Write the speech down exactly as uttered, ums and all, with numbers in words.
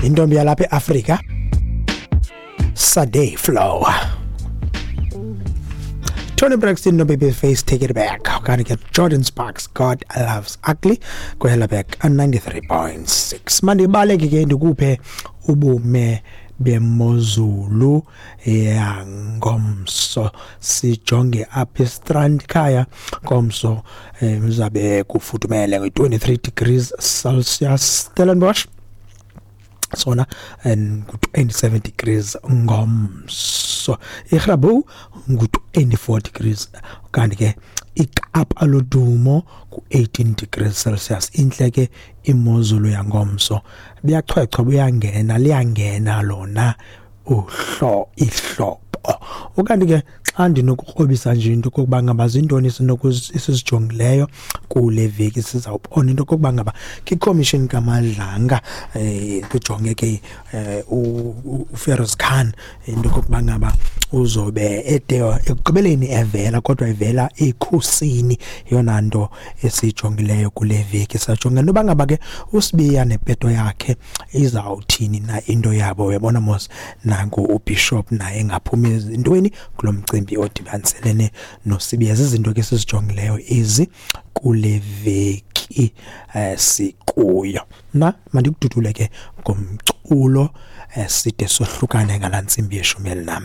Intombi yalapha eAfrika, Sade Flow. Toni Braxton no Babyface, Take It Back. Kanti ke Jordin Sparks, God Loves Ugly, kwela back ninety-three point six. Mandibaleke ke ndikuphe ubume bemozulu yangomso. Sijonge apha eStrand khaya ngomso, eh, uzabe kufudumele nge-twenty-three degrees Celsius. Stellenbosch sona ngu-twenty-seven degrees ngomso, iGrabouw ngu-twenty-four degrees, kanti ke iKapa lodumo ku-eighteen degrees Celsius. Intle ke imozulu yangomso, buyachwechwa, buyangena, liyangena lona uhlo ihlobo. Ukanti ke xa ndinokukrobisa nje into okokuba ngaba zintoni esizijongileyo kule veki, sizawubona into okokuba ngaba kwikhomishini kaMadlanga, um kujonge ke um uFeroz Khan, into okokuba ngaba uzobe ede ekugqibeleni evela, kodwa evela ekhusini. Yeyona nto esiyijongileyo kule veki. Sajonga into yoba ngaba ke uSibiya nepeto yakhe izawuthini na into yabo. Uyabona mos, nanku uBishop naye engaphumi ezintweni kulo mcimbi odibaniselene noSibiya. Zizinto ke sizijongileyo ezi kule veki eh sikuyo. Mna mandikududule ke ngomculo, eh side sohlukane ngalaa ntsimbi yeshumi elinam.